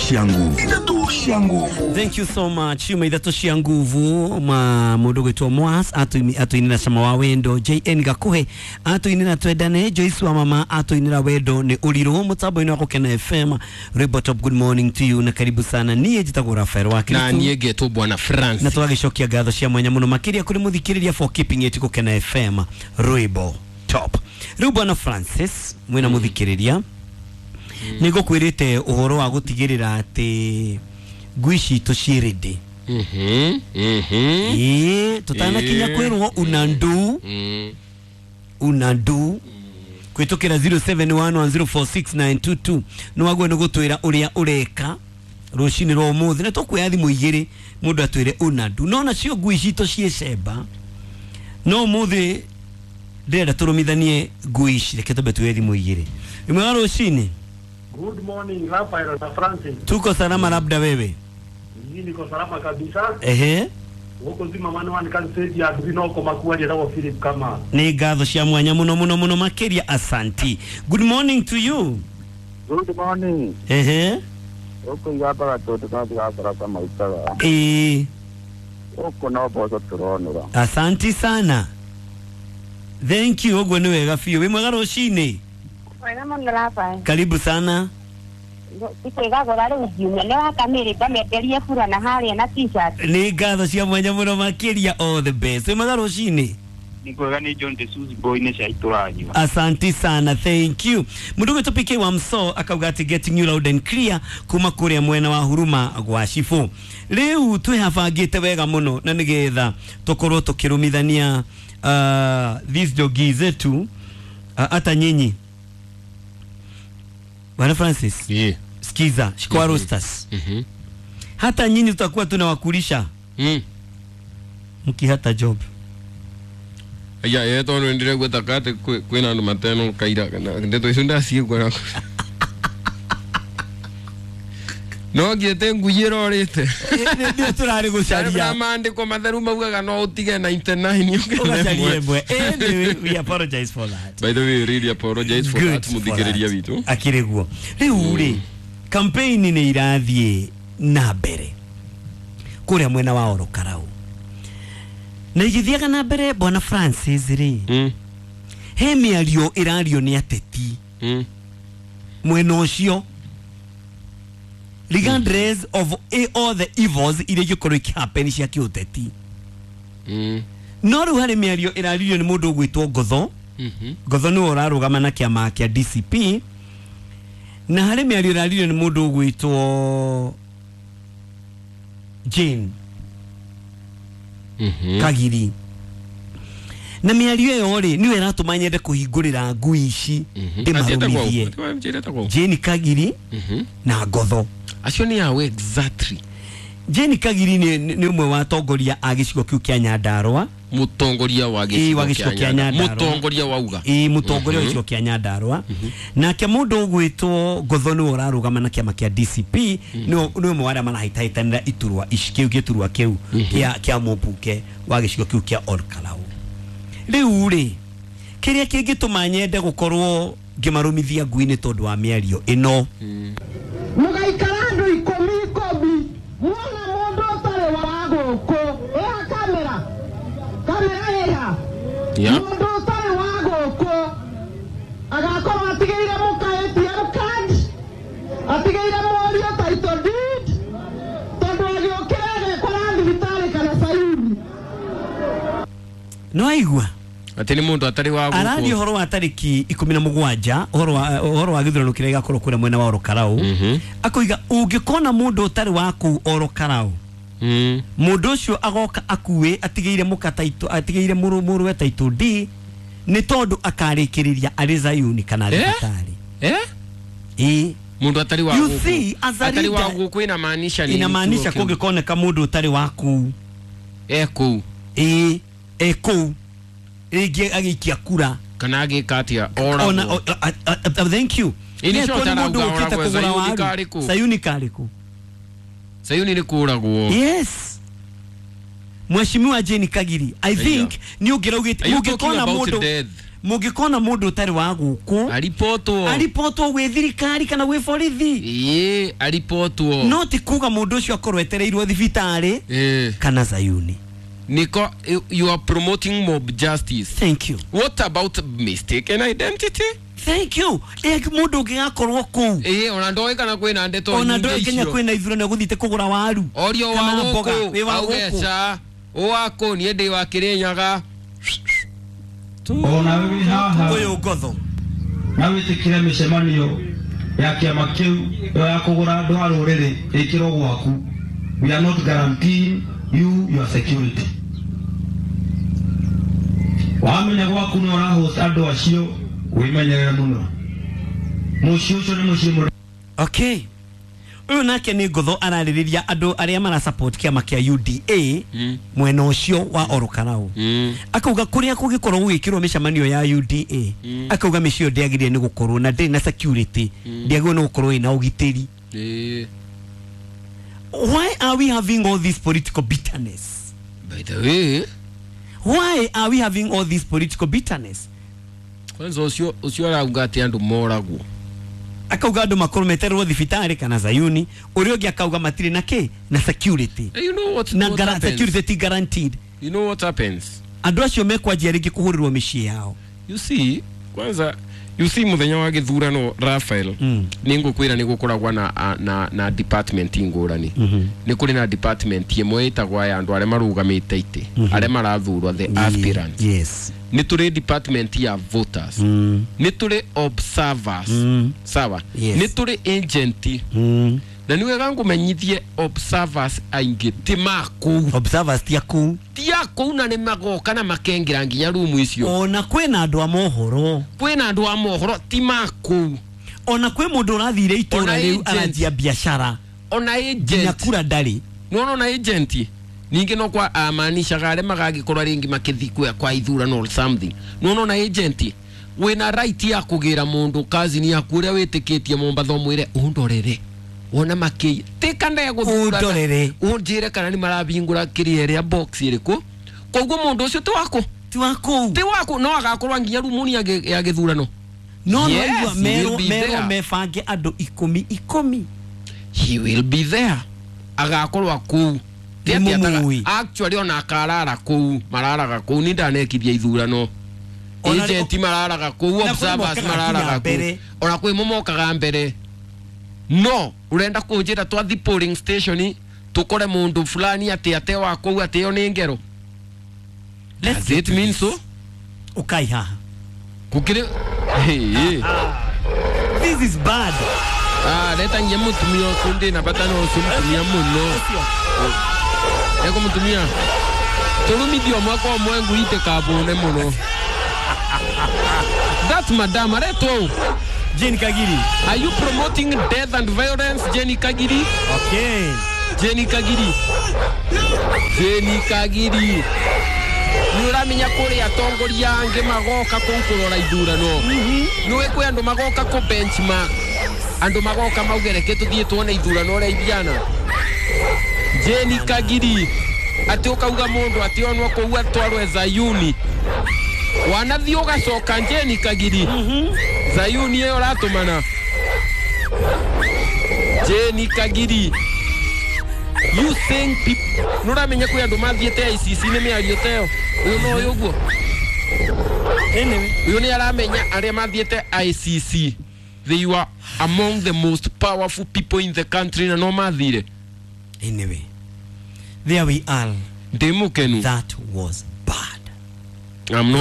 cia nguvu. Ithatũ cia nguvu. Thank you so much. Yuma ithatũ cia nguvu ma mũndũ gwĩtwo Mwas atũinĩra cama wa wendo, JN Gakuhe atũinĩra twendane, Joyce wa mama atũinĩra wendo nĩ ũrirũ. Mũtambo-inĩ wa Gũkena FM, Rwĩmbo Top, good morning to you na karibu sana. Niĩ njĩtagwo Rafael wa na Kristo niĩ ngetwo bwana France. Na tũgagĩcokia ngatho cia mwanya mũno makĩria kũrĩ mũthikĩrĩria for keeping it Gũkena FM, Rwĩmbo Top. Rĩu bwana Francis mwĩna mũthikĩrĩria, nĩ ngũkwĩrĩte ũhoro wa gũtigĩrĩra atĩ ngui citũ ciĩ ready. Ĩĩ, tũtanakinya kwĩrwo una ndu una ndu kwĩtũkĩra 0711046922 nĩ waguo nĩ gũtwĩra ũrĩa ũreka rũcinĩ rwa ũmũthĩ, na tũkuoya thimũ igĩrĩ mũndũ atwĩre una ndu. No nacio ngui citũ ciĩ cemba, no ũmũthĩ ndĩrenda tũrũmithanie ngui ici. Reke twambe tuoye thimũ igĩrĩ. Ĩmwe wa rũcinĩ. Good morning, Rafael na Francis. Tuko salama, labda wewe? Mimi niko salama kabisa. Ehe. Huko zima manu wani kan stage ya Dino kwa makuwa ni Philip kama. Nĩ ngatho cia mwanya mũno mũno mũno makĩria, asanti. Good morning to you. Good morning. Ehe. Huko igabaga tondu no ndigakora ta maitaga. Ĩĩ. Huko no mboco tũronũra. Asanti sana, thank you. Ũguo nĩ wega biũ. Wĩ mwega rũcinĩ? Wega mũno Rafael. Karibu sana. Ikwĩgagũra rĩu ngiumia nĩ wakamĩrĩ ngamenderie burana harĩa na t-shirt. Nĩ ngatho cia mwanya mũno makĩria, all the best. Wĩ mwega rũcinĩ? Nĩ kwega, nĩ John the Suzy boy nĩ cia itũranyua. Asanti sana, thank you. Mũndũ ũgwĩtwo PK wa Mso akauga atĩ getting you loud and clear kuma kũrĩa mwena wa Huruma gwa Cibũ. Rĩu twĩhabangĩte wega mũno na nĩgetha tũkorwo tũkĩrũmithania these jogi zetu, hata nyinyi Bwana Francis. Yeah. Sikiza Shikwa Roasters, hata nyinyi tutakuwa tunawakulisha mkihata job. Ya ye tondu ndiregua ta kate kwina andu mateno kaira ndeto icio ndaciigua no ngiete ngui ĩrorĩte. Ndio turari gucaria. Maandĩko matheru maugaga no ũtige 99 ũgacaria ĩmwe. Anyway, we apologize for that. By the way, really apologize for Good that, mũthikĩrĩria for witũ. that. Akĩrĩ guo rĩu rĩ, campaign nĩ irathiĩ na mbere kũrĩa mwena wa Orokarau na igĩthiaga na mbere. Bwana Francis rĩ, he mĩario ĩrario nĩ ateti mwena ũcio regardless of all the evils iria ingĩkorwo ikĩhappen cia kĩũteti. No rĩu harĩ mĩario ĩraririo nĩ mũndũ ũgwĩtwo Ngotho. Ngotho nĩwe ũrarũgama na kĩama kĩa DCP, na harĩ mĩario ĩraririo nĩ mũndũ ũgwĩtwo Jane Kagiri, na mĩario ĩyo rĩ nĩyo ĩratũma nyende kũhingũrĩra ngui ici ndĩmarũmithie. Jane Kagiri na Ngotho. Acio nĩ awe exactly? Jane Kagiri nĩ ũmwe wa atongoria a gĩcigo kĩu kĩa Nyandarũa. Mũtongoria wa Ĩĩ, wa gĩcigo kĩa Nyandarũa. Mũtongoria wauga. Ĩĩ, mũtongoria wa gĩcigo kĩa Nyandarũa. Nake mũndũ ũgwĩtwo Ngotho nĩwe ũrarũgama na kĩama kĩa DCP, nĩ ũmwe wa arĩa marahĩtahĩtanĩra iturwa ici kĩu gĩturwa kĩu kĩa mũmbunge wa gĩcigo kĩu kĩa Olkalau. Rĩu rĩ, kĩrĩa kĩngĩtũma nyende gũkorwo ngĩmarũmithia ngui nĩ tondũ wa mĩario ĩno. Mũgaikara andũ ikũmi ikũmi, muona mũndũ ũtarĩ wa gũkũ ĩha kamera kamera ĩha. Mũndũ ũtarĩ wa gũkũ agakorwo atigĩire mũka ATM card, atigĩire mũriũ title deed, tondũ agĩũkĩra agekora thibitarĩ kana Sayuni. No aigua atĩ nĩ mũndũ atarĩ wa gũkũ. Araria ũhoro wa tarĩki 17, ũhoro wa gĩthurano kĩrĩa gĩgakorwo kũrĩa mwena wa Orokarau. Akoiga ũngĩkona mũndũ ũtarĩ wa kũu Orokarau, mũndũ ũcio agoka akue atigĩire mũka title, atigĩire mũrũwe title D, nĩ tondũ akarĩkĩrĩria arĩ Zayuni kana thibitarĩ. Ĩĩ. Mũndũ atarĩ wa You gũkũ. see, as a Atarĩ wa leader, gũkũ inamaanisha nini? Inamaanisha kũngĩkoneka mũndũ ũtarĩ wa kũu e kũu. Ĩĩ, e kũu rĩngĩ agĩikia kura kana agĩka atĩa. Ona Oragwo. Thank you. Ĩĩ, nĩcio Nĩ mũndũ atarauga ũkĩte oragwo, kũgũra Zayuni waru. karĩ kũ? Sayuni karĩ kũ? Sayuni nĩ kũragwo. Yes, Mheshimiwa Jane Kagiri, I think nĩ ũngĩraugĩte Are you talking mũngĩkona about mũndũ death? Mũngĩkona mũndũ ũtarĩ wa gũkũ aripotwo gwĩ thirikari kana gwĩ borithi. Ĩĩ, aripotwo. No ti kuga mũndũ ũcio akorwo etereirwo thibitarĩ kana Zayuni. Niko, you are promoting mob justice. Thank you. What about mistaken identity? Thank you. Mũndũ ũngĩgakorwo kũu. Ĩĩ, ona ndoĩ kana kwĩna ndeto ona ndoĩ Kenya kwĩna ithurano gũthiĩte kũgũra waru. Orio wa gũkũ, auge ca, ũwakũ niĩ ndĩ wa Kĩrĩnyaga. Ona wĩ haha ũyũ ngotho na wĩtĩkĩre mĩcemanio ya kĩama kĩu ya kũgũra andũ a rũrĩrĩ ĩkĩrwo gwaku. We are not guaranteeing you your security. Wamenya gwaku nĩ ũrahost andũ acio, wĩmenyerere mũno. Mũciĩ ũcio nĩ mũciĩ mũrĩ. Okay. Ũyũ nake nĩ ngotho ararĩrĩria andũ arĩa mara support kĩama kĩa UDA mwena ũcio wa Orokarau. Akauga kũrĩa kũngĩkorwo gũgĩkĩrwo mĩcemanio ya UDA, akauga mĩciĩ ĩyo ndĩagĩrĩire nĩ gũkorwo na ndĩrĩ na security, ndĩagĩrĩirwo nĩ gũkorwo ĩna ũgitĩri. Why are we having all this political bitterness? By the way, why are we having all this political bitterness? Kwanza ũcio arauga atĩ andũ moragwo. Akauga andũ makorwo meterwo thibitarĩ kana Zayuni, ũrĩa ũngĩ akauga matirĩ na kĩ na security. You know what, na what happens? Security ti guaranteed. You know what happens? Andũ acio mekwanjia rĩngĩ kũhũrĩrwo mĩciĩ yao. You see, kwanza you see muthenya wa gĩthurano Raphael, nĩ ngũkwĩra nĩ gũkoragwo na department ngũrani. Nĩ kũrĩ na department ĩmwe ĩtagwo ya andũ arĩa marũgamĩte itĩ, arĩa marathurwo, the aspirants. Yes. Nĩ tũrĩ department ya voters. Nĩ tũrĩ observers. Sawa. Yes. Nĩ tũrĩ agent. Na nĩ wega ngũmenyithie observers aingĩ ti makũu. Observers ti akũu. Ti akũu na nĩ magoka na makengĩra nginya rumu icio. Ona kwĩna andũ a mohoro. Kwĩna andũ a mohoro ti makũu. Ona kwĩ mũndũ ũrathire itũra rĩu aranjia biacara. Ona agent. Nginya kura ndarĩ. Nĩwona ona agent. Ningĩ no kwa amaanishaga arĩa magagĩkorwo rĩngĩ makĩthiĩ kwa ithurano or something. Nĩwona ona agent wĩna right ya kũgĩra mũndũ kazini yaku ũrĩa wĩtĩkĩtie Mombatha ũmwĩre ũndorere. Wona makĩ tika ndegũthurana ũndorere ũnjĩre kana nĩ marabingũra kĩrĩa ĩrĩa box ĩrĩkũ. Koguo mũndũ ũcio ti waku. Ti waku. Ti waku no agakorwo nginya rumuni ya gĩthurano. No no merwo mebange andũ 10 He will be there. Agakorwo kũu. Actually ona akarara kũu, mararaga kũu ni ndanekithia ithurano. Agent mararaga kũu, observers mararaga kũu. Ona kwĩ momokaga mbere. No, urenda kũnjĩra twathi polling station tukore mundu fulani ati ate wa kũu ati yo nĩ ngero. Does it mean so? Ukai haha. Kukire hey. This is bad. Ah, leta nginya mutumia ũcio ndĩ na bata na ũcio mutumia mũno. Eko mutumia. Tũrumithio mwaka ũmwe nguite kabone mũno. That madam aretwo Jane Kagiri. Are you promoting death and violence, Jane Kagiri? Okay. Jane Kagiri. Jane Kagiri. Nĩ ũramenya kũrĩa atongoria angĩ magoka kũu kũrora ithurano. Nĩũĩ kwĩ andũ magoka kũ benchmark. Andũ magoka mauge reke tũthiĩ tuone ithurano ũrĩa ibiana. Jane Kagiri. Atĩ ũkauga mũndũ atĩ onwo kũu atwarwe Zayuni. Wanathiĩ ũgacoka Jane Kagiri. Zayuni ĩyo ũratũmana. Jane Kagiri. You think people nũramenya kwĩ andũ mathiĩte ICC nĩ mĩario ta ĩyo. Ũyũ no ũyũ ũguo. Anyway, ũyũ nĩ aramenya arĩa mathiĩte ICC. They were among the most powerful people in the country na no mathire. Anyway, there we are. Ndĩ mũkenu. That was bad. I'm not